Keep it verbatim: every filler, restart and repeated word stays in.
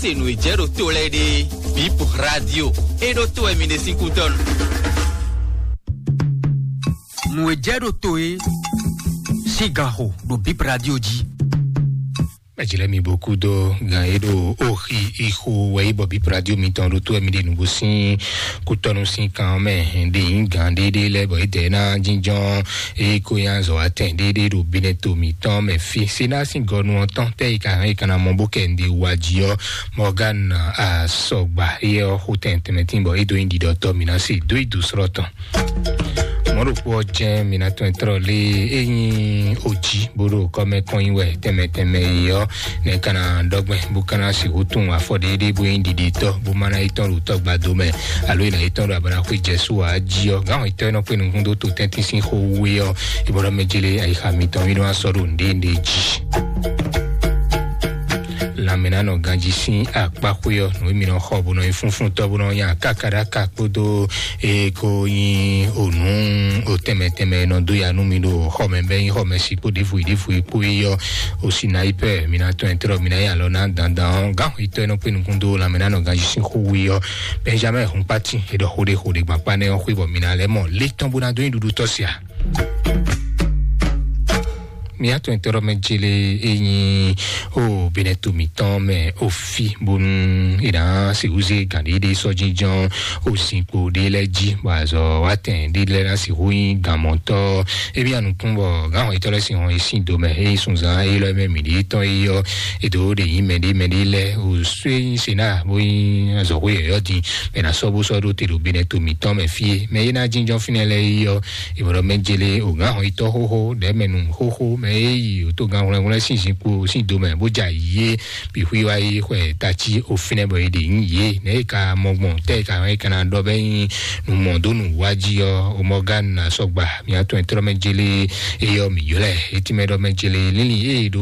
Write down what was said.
Se nǔ e jɛ ɖo to lɛ́ɛ ɖe, Bip Radio, e ɖo to wɛ mi ɖe sín kútɔ́nu. Nǔ e jɛ ɖo to e sín ganxo ɖo Bip Radio jí. Mɛjilɛ mi bó kú dó gan e ɖo oxi ixo wɛ yi bɔ Bip Radio mitɔn ɖo to wɛ mi ɖe nǔgbó sín kútɔ́nu sín kan mɛ ɖe nyí gan ɖéɖé lɛ́ɛ bɔ é dɛ ná jínjɔ́n eye ko nyi azɔ̌ atɛn ɖéɖé ɖo Benɛto mǐtɔn mɛ fí. Sena sín gɔnu ɔ́ tɔn tɛ́ yi ka hɛn yi ka ná mɔ bó kɛ nɖe wá jí ɔ́, Mɔgán Asɔgba, éyɛ́ ɔ́ xo tɛn tɛnmɛtín bɔ é dó nyí ɖiɖɔtɔ́ mǐ ná se dó yi dǒ slɔ́ tɔn. Mɔ̌ ɖokpó ɔ́ jɛ́n mǐ ná tɔn tlɔ́ lé é nyí ojí bó ɖo kɔ́mɛ kɔn nyi wɛ tɛnmɛ tɛnmɛ yi ɔ́, nɛ̌ ka ná ɖɔgbɛn bó ka ná sixú tunwun afɔ ɖéɖé bó nyí ɖiɖitɔ́ bó má ná yi tɔn ɖo tɔ́gbadó mɛ, alo yi ná yi tɔn ɖo abana xwé jɛ sú ǎ jí ɔ́, gǎn hɔn tɔ́ e nɔ kpé nukún dó to tɛ́ntin sín xó wú é ɔ́, é bɔ ɖɔ mɛ jélé ayixa mitɔn mí nɔ wá sɔ́ ɖo nǔɖé nǔɖé jí. Lanmɛnánɔ ganjí sín akpáxwé ɔ́, nǔ e mi nɔ xɔ bó nɔ nyi fúnfúntɔ́ bó nɔ nya kákaɖáka kpódó e ko nyi onú o tɛnmɛ tɛnmɛ e nɔ dó ya nú mi ɖo xɔmɛ bɛ́ nyí xɔmɛ sí kpó ɖěvo yi ɖěvo yi kpó yi ɔ́, o sinayipɛ mi ná tɔn ɛ trɔ mi ná nyi alɔ ná dandan ɔ́, gǎn xwetɔ́ e nɔ kpé nukún dó lanmɛnánɔ ganjí sín xó wú yi ɔ́, Benjamin Hunkpati e ɖɔ xó ɖé xó ɖé gbakpá nɛ́ ɔ́ xwé bɔ mi ná lɛ́ mɔ lé tɔn bó ná dó nyi ɖuɖu tɔ́ sia. Mía tɔn tɔrɔ mɛ jele e nyi o Benɛto mǐtɔn mɛ o fi bónú e ná sixú zé gǎn ɖé ɖé sɔ́ jínjɔ́n o zinkpo ɖé lɛ́ɛ jí bɔ azɔ wá tɛn ɖé lɛ́ɛ ná sixú nyí gǎnmɔtɔ́. Emi anukún bɔ gǎn hɔn yitɔ́ lɛ́ɛ sin hɔn yi sín do mɛ e nyí sunzan e lɔ mɛ mǐ ɖe tɔn e yɔ e dó ɖe nyí mɛ ɖé mɛ ɖé lɛ́ɛ o sue nyí sena bó nyí azɔ̌xó yɔ̌yɔ́ din mɛ ná sɔ́ bó sɔ́ ɖó te ɖo Benɛto mǐtɔn mɛ fí e mɛ e ná jínjɔ́n fínɛ́ lɛ́ɛ e yɔ Ìbɔ̀dɔ̀mɛ jele ògán hɔn itɔ́ xóxó ɖɛ̌mɛnu xóxó mɛ e yi òtógan hwlɛ́nhwlɛ́n sín zinkpo sín do mɛ bó ja yě bǐ xwí wá yi xwɛ tací òfínɛ bɔ è ɖe nyí yě nɛ̌ è ka mɔ gbɔn tɛ́ è ka hɛn è ka ná ɖɔ bɛ́ nyí nǔ mɔ dó nǔ wá jí ɔ́, o Mɔgán ná sɔgba mǐ atɔn e tlɔ́ mɛ jele e yɔ mǐ ylɔ́ ɛ é tínmɛ ɖɔ mɛ jele lílí e è ɖo